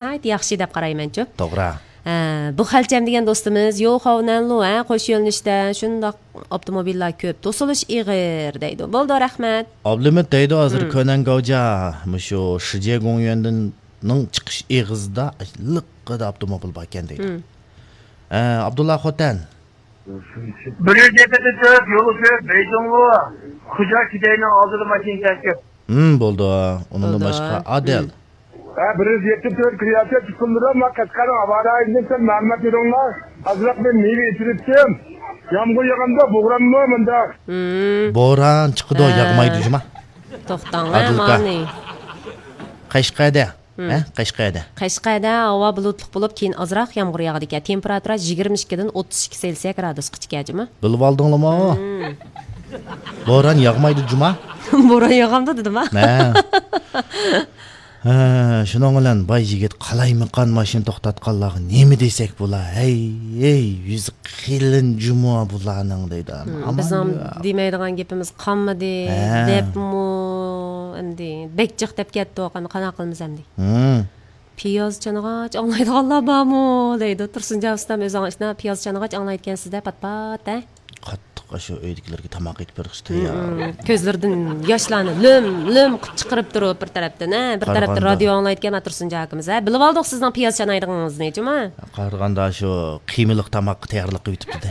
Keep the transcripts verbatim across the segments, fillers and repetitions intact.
ناھايىتى ياخشى دەپ قارايمەنچۇ. توغرا. ھە، بۇ خەلچەم دېگەن دوستىمىز، يوخاۋنەنلۇ، ھە، قوش يۆنىلىشتە شۇنداق ئاپتوموبىللار كۆپ، توسۇلۇش ئېغىر دەيدۇ. بولدى، رەھمەت. ئابلىمىت دەيدۇ، ھازىر كۆنەن گاۋجا، مۇشۇ شىجيې گوڭيۈەندىننىڭ چىقىش ئېغىزىدا لىققىدا ئاپتوموبىل باركەن دەيدۇ. ھە، ئابدۇللا خوتەن. بىر يۈز يەتتە تۆت يولى كۆپ، بېيجىڭغۇ، خۇجيا شىجيېنىڭ ئالدىدا ماشىنا كەپ. ھىم، بولدى. ئۇنىڭدىن باشقا، ئادىل. ھە، بىر يۈز يەتتە تۆت كىرىياتە چىقىمدىلا، ما قەشقەرنىڭ ھاۋا رايىدىن سەل مەلۇمات بېرىڭلار. ئازراق مەن مېۋە ئېچىۋېتىم. يامغۇر ياغامدا بوغراممۇ مۇنداق؟ بوران چىقىدۇ، ھە. ياغمايدۇ جۇما. توختاڭلار، ئادىل ئاكا. مانى. قەشقەردە. ھە، قەشقەردە. قەشقەردە ھاۋا بۇلۇتلۇق بولۇپ، كېيىن ئازراق يامغۇر ياغىدىكەن. تېمپېراتۇرا يىگىرمە ئىككىدىن ئوتتۇز ئىككى سېلسىيە گرادۇسقىچىكەن جۇما. بىلىۋالدىڭلىمۇ؟ بوران ياغمايدۇ جۇما. بوران ياغامدۇ دېدىم ھە. ھە. ھە، شۇنىڭ بىلەن باي يىگىت قالايمىقان ماشىنا توختاتقانلارغا نېمە دېسەك بولا؟ ھەي، ھەي، يۈزى قېلىن جۇمۇ بۇلارنىڭ دەيدۇ. ھىم، ئامان بىزنىڭ يا. دېمەيدىغان گېپىمىز قالمىدى، ھە. دەپمۇ ئەمدى بەك جىق دەپ كەتتۇق، ئەمدى قانداق قىلىمىز ئەمدى؟ ھىم. پىياز چانىغاچ ئاڭلايدىغانلار بارمۇ؟ دەيدۇ. تۇرسۇنجان ئۇستام ئۆزىڭىز ئىشنا پىياز چانىغاچ ئاڭلايدىكەنسىز-دە، پات-پات، ھە؟ قاتتىق ئاشۇ ئۆيدىكىلەرگە تاماق ئېتىپ بېرىشتە، ھىم، يا. ھىم. كۆزلىرىدىن ياشلارنى لۆم-لۆم چىقىرىپ تۇرۇپ بىر تەرەپتىن، ھە؟ بىر تەرەپتىن قارىغاندا. رادىيو ئاڭلايدىكەن، ھە، تۇرسۇنجان ئاكىمىز، ھە؟ بىلىۋالدۇق سىزنىڭ پىياز چانايدىغىنىڭىزنى، جۇما. قارىغاندا شۇ قىيمىلىق تاماققا تەييارلىق قىلىۋېتىپتۇ-دە.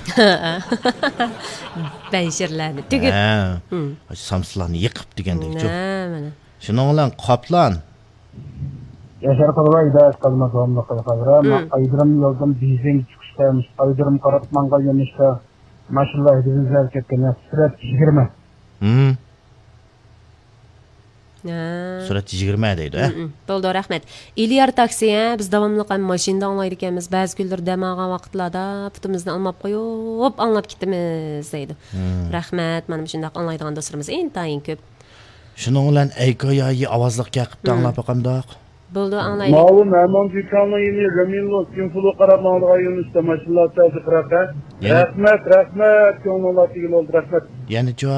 بەنشىرلەرنى تۈگۈپ. ھە. ھىم. ئاشۇ سامسىلارنى يېقىپ دېگەندەك، چۇ. نە، مانا. شۇنىڭ بىلەن قاپلان. ياشار قۇربان، ھىدايەت قالماس داۋاملىق قىلغانلار. مم. ئايدىرىم يولدىن بېيجىڭ چىقىشتا، ئايدىرىم قاراپ ماڭغان يۆنىلىشتە ماشىنىلار ھەيدىگىنى ئىزدەپ كەتكەن. سۈرئەت يىگىرمە. مم. ھە. سۈرئەت يىگىرمە دەيدۇ، ھە؟ مم، مم. بولدى، رەھمەت. ئېلىيار تاكسى، ھە، بىز داۋاملىق ھەم ماشىنىدا ئاڭلايدىكەنمىز. بەزى كۈنلىرى دەم ئالغان ۋاقىتلاردا پۇتىمىزنى ئالماپ قويۇپ ئاڭلاپ كېتىمىز، دەيدۇ. مم. رەھمەت، مانا مۇشۇنداق ئاڭلايدىغان دوستلىرىمىز ئىنتايىن كۆپ. شۇنىڭ بىلەن ئەيكو يايى ئاۋازلىق كەقىپتە مم. ئاڭلاپ باقامدۇق؟ بولدى، ئاڭلايلى. ماۋۇ مەمەن جىكاڭنىڭ يېنى رەمىنلو سىنفۇلۇ قاراپ ماڭىدىغان يۆنىلىشتە ماشىنىلار تەزى قىراپ، ھە؟ يەنە؟ رەھمەت، رەھمەت، كۆڭلۈڭلار تېگىلى بولدى، رەھمەت. يەنىچۇ؟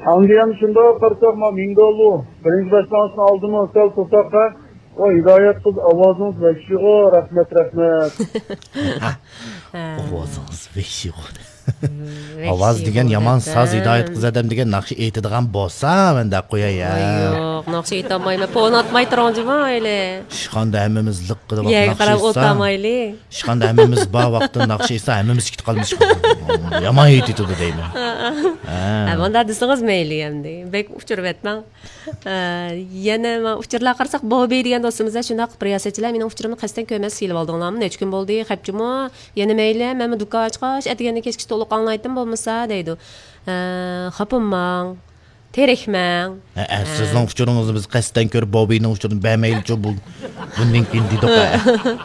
ئاندىن شۇنداق قارىساق، ما مىڭدولۇ بىرىنچى باشلانغۇچنىڭ ئالدىمۇ سەل تۇرساق، ھە؟ ۋاي، ھىدايەت قىز، ئاۋازىڭىز ۋەھشىيغۇ، رەھمەت، رەھمەت. ھە. ئاۋازىڭىز ۋەھشىيغۇ. ۋەھشىي ئاۋاز دېگەن بولدى يامان ساز، ھە. ھىدايەت قىز ئادەم دېگەن ناخشا ئېيتىدىغان بولسا، مەن دەپ قوياي، ھە. ۋاي يوق، ناخشا ئېيتالمايمەن، پون ئاتماي تۇرۇڭ جۇما ئەيلى. ئىشخانىدا ھەممىمىز لىققىدە يەرگە قاراپ ئولتۇرمايلى. ئىشخاندا ھەممىمىز بار ۋاقىتتا ناخشا ئېيتسا، ھەممىمىز كېتىپ قالىمىز. يامان ئېيتىدۇ دەيمەن. ھە. ھە، مۇنداق دېسىڭىز مەيلى ئەمدى. بەك ئۇچۇرۇۋەتمەڭ. ئە، يەنە ما ئۇچۇرلارغا قارىساق، بوبى دېگەن دوستىمىزدا شۇنداق بىر رىياسەتچىلەر مېنىڭ ئۇچۇرۇمنى قەستەن كۆرمەس سېلىۋالدىڭلارمۇ؟ نەچچە كۈن بولدى، خەپچىمۇ؟ يەنە مەيلى، مەنمۇ دۇكان ئاچقاچ، ئەتىگەندىن كەچكىچە تولۇق ئاڭلايتتىم، بولمىسا، دەيدۇ. ئە، خاپىماڭ، تېرىكمەڭ. ھە، ھە، ھە. سىزنىڭ ئۇچۇرىڭىزنى بىز قەستەن كۆرۈپ، بوبىنىڭ ئۇچۇرىنى بەرمەيلىچۇ، بۇ، بۇندىن كېيىن دېدۇق، ھە.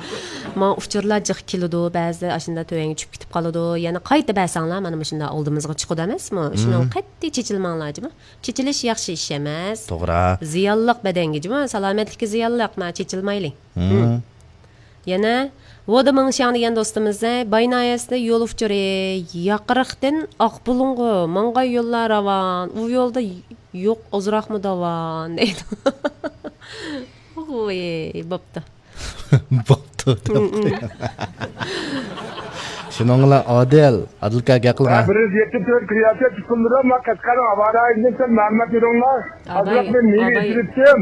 ماڭا ئۇچۇرلار جىق كېلىدۇ، بەزىدە ئاشۇنداق تۆۋەنگە چۈشۈپ كېتىپ قالىدۇ. يەنە قايتا بەرسەڭلار، مانا مۇشۇنداق ئالدىمىزغا چىقىدۇ ئەمەسمۇ؟ شۇنىڭغا مم. قەتئىي چېچىلماڭلار، جۇمۇ. چېچىلىش ياخشى ئىش ئەمەس. توغرا. زىيانلىق بەدەنگە، جۇمۇ. سالامەتلىككە زىيانلىق، ما چېچىلمايلى. مم. مم. يەنە ۋودا مىڭشياڭ دېگەن دوستىمىز، باي ناھىيەسىدە يول ئۇچۇرى، ياقىرىقتىن ئاقبۇلۇڭغا ماڭغان يوللار راۋان، ئۇ يولدا يوق ئازراقمۇ داۋان دەيدۇ. ۋوي، بوپتۇ. بوپتۇ دەپ مم، مم. قويۇڭ. شۇنىڭ بىلەن ئادىل، ئادىل ئاكا گەپ قىلىڭ. ھە، بىر يۈز يەتتە تۆت كىرىياتە چىقىمدىلا، ما قەشقەرنىڭ ھاۋا رايىدىن سەل مەلۇمات بېرىڭلار. ئازراق مەن مېۋە ئېچىۋېتىم.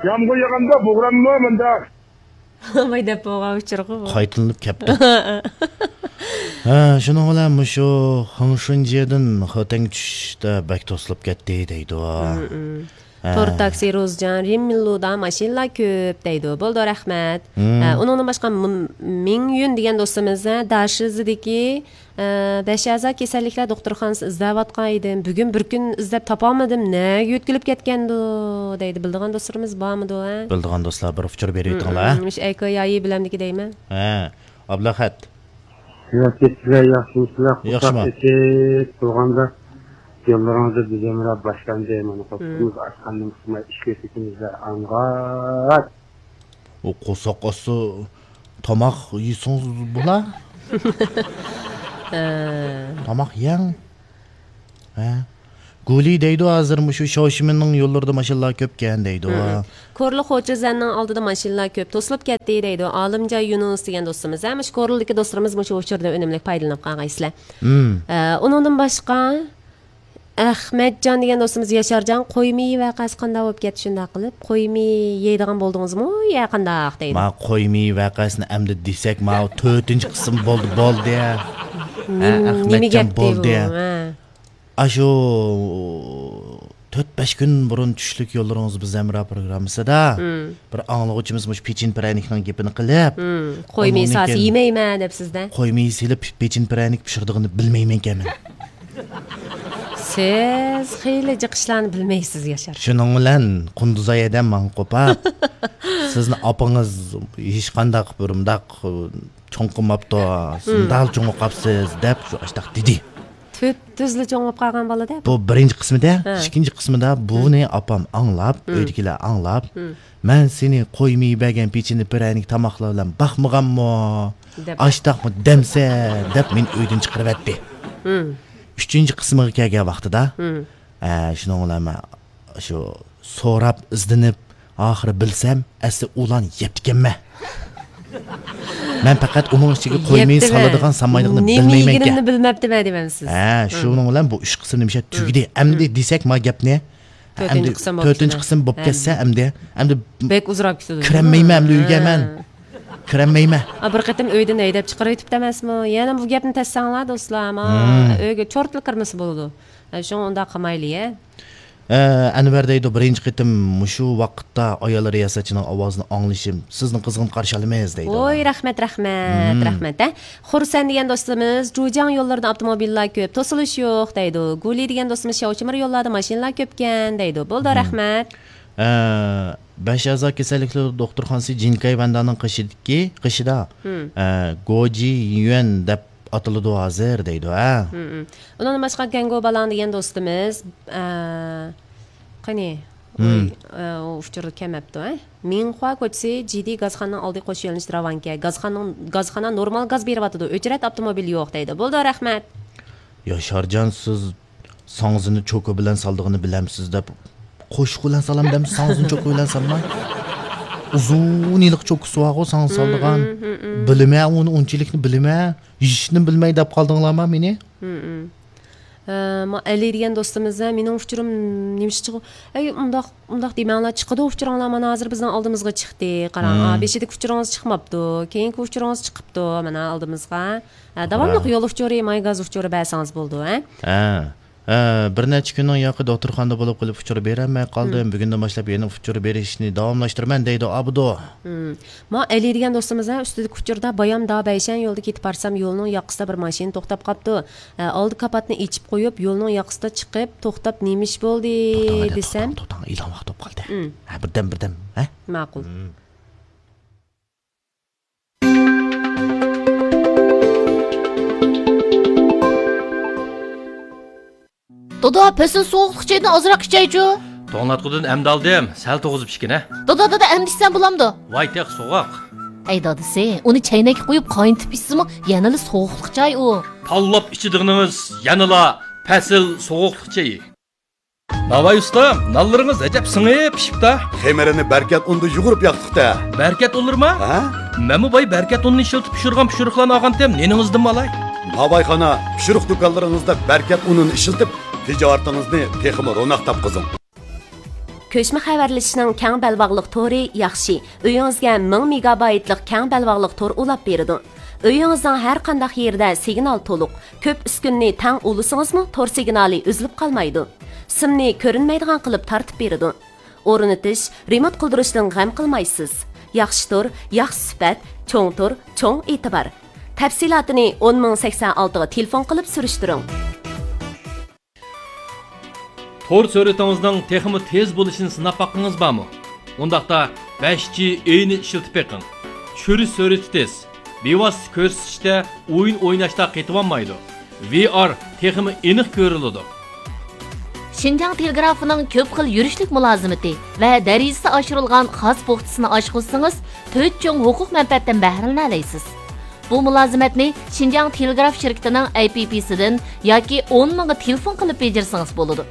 يامغۇر ياغامدا بوغراممۇ مۇنداق؟ ئاباي دەپ بولغان ئۇچۇرغۇ بۇ. قايتىلىنىپ كەپتۇ. ھە، شۇنىڭ بىلەن مۇشۇ خېڭشۇنجيېدىن خوتەنگە چۈشۈشتە بەك توسۇلۇپ كەتتى دەيدۇ. مم، مم. ھە. تور تاكسى روزجان، رىممىللۇدا ماشىنىلار كۆپ دەيدۇ. بولدى، رەھمەت. مم. ھە، ئۇنىڭدىن باشقا م-، مىڭيۈن دېگەن دوستىمىز، ھە، داشىزىدىكى، ئە، بەش ئەزا كېسەللىكلەر دوختۇرخانىسى ئىزدەۋاتقان ئىدىم. بۈگۈن بىر كۈن ئىزدەپ تاپالمىدىم. نەگە يۆتكىلىپ كەتكەندۇ؟ دەيدۇ. بىلىدىغان دوستلىرىمىز بارمىدۇ، ھە؟ بىلىدىغان دوستلار بىر ئۇچۇر بېرىۋېتىڭلار، ھە؟ مم، مۇشۇ ئەيكو يايى بىلەمدىكى دەيمەن. ھە، ئابلەخەت. ياخشىمۇ؟ ياخشىمۇ سىلەر؟ قۇرساق ئېچىپ تۇرغاندا يوللىرىڭىزدا بىزەمرا باشلاندى. مانا، مم. قورسىقىمىز ئاچقاندىن كېيىن ئىشكە كېتىمىزدە ئاڭغات. ئۇ قورساق ئاچسا تاماق يېسىڭىز بولا. ھە. تاماق يەڭ. ھە. گۇلى دەيدۇ، ھازىر مۇشۇ شياۋشىمىننىڭ يوللىرىدا ماشىنىلار كۆپكەن دەيدۇ. مم. كورلا خوجېزەننىڭ ئالدىدا ماشىنىلار كۆپ، توسۇلۇپ كەتتى دەيدۇ. ئالىمجان يۇنۇس دېگەن دوستىمىز، ھە، مۇشۇ كورلىدىكى دوستلىرىمىز مۇشۇ ئۇچۇردىن ئۈنۈملۈك پايدىلىنىپ قالغايسىلەر. مم. ئە، ئۇنىڭدىن باشقا، ئەخمەتجان دېگەن دوستىمىز، ياشارجان، قوي مېيى ۋەقەسى قانداق بولۇپ كەتتى شۇنداق قىلىپ؟ قوي مېيى يەيدىغان بولدىڭىزمۇ يا قانداق دەيدۇ. ما قوي مېيى ۋەقەسىنى ئەمدى دېسەك، ما تۆتىنچى قىسىم بولدى، بولدى. ھە، نېمە، نېمە ئەخمەتجان گەپتى بولدى. بۇ؟ ھە. ئاشۇ تۆت-بەش كۈن بۇرۇن چۈشلۈك يوللىرىڭىز بىز ھەمراھ پروگراممىسىدا مم. بىر ئاڭلىغۇچىمىز مۇشۇ پېچىن پىرەنىكنىڭ گېپىنى قىلىپ، مم. قوي مېيى ئۇنىڭدىن ساسى كېيىن يېمەيمەن دەپ سىزدە. قوي مېيى سېلىپ پېچىن پىرەنىك پىشۇرىدىغىنى بىلمەيمەنكەن مەن. سىز خېلى جىق ئىشلارنى بىلمەيسىز، ياشار. شۇنىڭ بىلەن قۇندۇزاي ھەدەم ماڭا قوپاپ، سىزنى ئاپىڭىز ھېچقانداق بىر مۇنداق چوڭ قىلماپتۇ، سىز مم. مۇنداق چوڭ قاپسىز دەپ شۇ ئاشتاق دېدى. تۈپتۈزلا چوڭ بولۇپ قالغان بالا-دە. بۇ بىرىنچى قىسمىدا، ھە. ئىككىنچى قىسمىدا بۇنى ئاپام ئاڭلاپ، مم. ئۆيدىكىلەر ئاڭلاپ، مم. مەن سېنى قوي مېيى بەرگەن پېچىنە پىرەنىك تاماقلار بىلەن باقمىغانمۇ؟ دەپ. ئاشتاقمۇ دەمسە دەپ مېنى ئۆيدىن چىقىرىۋەتتى. مم. ئۈچىنچى قىسمىغا كەلگەن ۋاقتىدا، مم. ئە، شۇنىڭ بىلەن مەن شۇ سوراپ، ئىزدىنىپ، ئاخىرى بىلسەم، ئەسلى ئۇلارنى يەپتىكەنمەن. مەن پەقەت ئۇنىڭ ئىچىگە قوي مېيى سالىدىغان، سالمايدىغىنى بىلمەيمەنكەن. نېمە يېگىنىمنى بىلمەپتىمەن دەيمەن سىز. ھە، شۇنىڭ بىلەن بۇ ئۈچ قىسىم نېمىشە تۈگىدى. ئەمدى دېسەك ما گەپنى. تۆتىنچى قىسىم بولۇپ كەتسە، ئەمدى، ئەمدى بەك ئۇزىراپ كېتىدۇ. كىرەلمەيمەن ئەمدى ئۆيگە مەن. كىرەلمەيمەن. ئا، بىر قېتىم ئۆيدىن ھەيدەپ چىقىرىۋېتىپتۇ ئەمەسمۇ؟ يەنە بۇ گەپنى تەشسەڭلار، دوستلار، ما، ئۆيگە چورتلا كىرمىسە بولىدۇ. ھە، شۇڭا ئۇنداق قىلمايلى، ھە. ئە، ئەنۋەر دەيدۇ، بىرىنچى قېتىم مۇشۇ ۋاقىتتا ئايال رىياسەتچىنىڭ ئاۋازىنى ئاڭلىشىم، سىزنى قىزغىن قارشى ئالىمىز دەيدۇ. ۋوي، رەھمەت، رەھمەت، رەھمەت، ھە. خۇرسەن دېگەن دوستىمىز، جۇجياڭ يوللىرىدا ئاپتوموبىللار كۆپ، توسۇلۇش يوق دەيدۇ. گۇلى دېگەن دوستىمىز، شياۋشىمىر يوللاردا ماشىنىلار كۆپكەن دەيدۇ. بولدى، رەھمەت. ئە، بەش ئەزا كېسەللىكلەر دوختۇرخانىسى جىنكاي ۋەندانىڭ قېشىدىكى، قېشىدا، ئە، گوجى يۈەن دەپ ئاتىلىدۇ ھازىر دەيدۇ، ھە. مم، مم. ئۇنىڭدىن باشقا گەنگو بالاڭ دېگەن دوستىمىز، ئە، قېنى، مم. ئۇ، ئە، ئۇ ئۇچۇردا كەلمەپتۇ، ھە. مىڭخۇا كوچىسى جىدى گازخانىنىڭ ئالدى قوش يۆنىلىش راۋانكە. گازخانىنىڭ، گازخانا نورمال گاز بېرىۋاتىدۇ، ئۆچرەت ئاپتوموبىل يوق دەيدۇ. بولدى، رەھمەت. ياشارجان، سىز ساڭزىنى چوكا بىلەن سالىدىغىنى بىلەمسىز دەپ، قوشۇق بىلەن سالام دەمسىز، ساڭزىنى چوكا بىلەن سالماي. ئۇزۇن يىللىق چوكىسى بارغۇ ساڭزا سالىدىغان. بىلىمەن ئۇنى، ئۇنچىلىكنى بىلىمەن. ھېچنى بىلمەي دەپ قالدىڭلارما مېنى؟ ھە، ما ئەلى دېگەن دوستىمىز، ھە، مېنىڭ ئۇچۇرۇم نېمىشقا چىقىدۇ؟ ئەي، ئۇنداق، ئۇنداق دېمەڭلار، چىقىدۇ ئۇچۇرۇڭلار، مانا ھازىر بىزنىڭ ئالدىمىزغا چىقتى. قاراڭ، ھە، بېشىدىكى ئۇچۇرىڭىز چىقماپتۇ، كېيىنكى ئۇچۇرىڭىز چىقىپتۇ، مانا ئالدىمىزغا. ھە، داۋاملىق يول ئۇچۇرى، ماي گاز ئۇچۇرى بەرسىڭىز بولىدۇ، ھە. ھە. ھە، بىر نەچچە كۈننىڭ ياقى دوختۇرخانىدا بولۇپ قېلىپ ئۇچۇر بېرەلمەي قالدىم. بۈگۈندىن باشلاپ يەنە ئۇچۇر بېرىشنى داۋاملاشتۇرىمەن دەيدۇ ئابدۇ. مم. ما ئەلى دېگەن دوستىمىز، ھە، ئۈستىدىكى ئۇچۇردا بايام دابەيشەن يولىدا كېتىپ بارسام، يولنىڭ ياقىسىدا بىر ماشىنا توختاپ قاپتۇ. ھە، ئالدى كاپاتنى ئېچىپ قويۇپ، يولنىڭ ياقىسىدا چىقىپ، توختاپ، نېمە ئىش بولدى دېسەم. توختاڭ، توختاڭ، ئېلان ۋاقىت بولۇپ قالدى. مم. ھە، بىردەم، بىردەم، ھە؟ ماقۇل. مم. دادا، پەسىل سوغۇقلۇق چايدىن ئازراق ئىچەيچۇ. توڭلاتقۇدىن ئەمدى ئالدىم، سەل توغۇزۇپ ئىچكىنە. دادا، دادا، ئەمدى ئىچسەم بولامدۇ؟ ۋاي تېخى سوغۇق. ئەي دادىسى، ئۇنى چەينەككە قۇيۇپ قاينىتىپ ئىچسىمۇ يەنىلا سوغۇقلۇق چاي ئۇ. تاللاپ ئىچىدىغىنىڭىز يەنىلا پەسىل سوغۇقلۇق چېيى. ناۋاي ئۇستا، نانلىرىڭىز ئەجەب سىڭىپ پىشىپتا. خېمىرىنى بەركەت ئۇندا يۇغۇرۇپ ياقتۇق-دە. بەركەت ئۇنلىرىما؟ ھە؟ مەنمۇ باي بەركەت ئۇنىنى ئىشلىتىپ پىشۇرغان پىشۇرۇقلارنى ئالغانتىم، نېنىڭىزدىنمۇ ئالاي. ناۋايخانا، پىشۇرۇق دۇكانلىرىڭىزدا بەركەت ئۇنىنى ئىشلىتىپ، تىجارىتىڭىزنى تېخىمۇ روناق تاپقۇزۇڭ. كۆچمە خەۋەرلىشىشنىڭ كەڭ بەلباغلىق تورى ياخشى. ئۆيىڭىزگە مىڭ مېگابايتلىق كەڭ بەلباغلىق تور ئۇلاپ بېرىدۇ. ئۆيىڭىزنىڭ ھەر قانداق يېرىدە سىگنال تولۇق. كۆپ ئۈسكۈنىنى تەڭ ئۇلىسىڭىزمۇ تور سىگنالى ئۈزۈلۈپ قالمايدۇ. سىمنى كۆرۈنمەيدىغان قىلىپ تارتىپ بېرىدۇ. ئورنىتىش، رېمونت قىلدۇرۇشتىن غەم قىلمايسىز. ياخشى تور، ياخشى سۈپەت، چوڭ تور، چوڭ ئېتىبار. تەپسىلاتىنى ئون مىڭ سەكسەن ئالتىغا تېلېفون قىلىپ سۈرۈشتۈرۈڭ. تور سۈرئىتىڭىزنىڭ تېخىمۇ تېز بولۇشىنى سىناپ باققىڭىز بارمۇ؟ ئۇنداقتا بەش جى ئېينى ئىشلىتىپ بېقىڭ. چۈشۈرۈش سۈرئىتى تېز، بىۋاسىتە كۆرسىتىشتە ئويۇن ئويناشتا قېتىۋالمايدۇ. ۋى ئار تېخىمۇ ئېنىق كۆرۈلىدۇ. شىنجاڭ تېلېگرافىنىڭ كۆپ خىل يۈرۈشلۈك مۇلازىمىتى ۋە دەرىجىسى ئاشۇرۇلغان خاس پوختىسىنى ئاشقۇزسىڭىز، تۆت چوڭ ھوقۇق مەنپەئەتتىن بەھرىلىنەلەيسىز. بۇ مۇلازىمەتنى شىنجاڭ تېلېگراف شىركىتىنىڭ ئەي پى پىسىدىن ياكى ئون مىڭغا تېلېفون قىلىپ بېجىرسىڭىز بولىدۇ.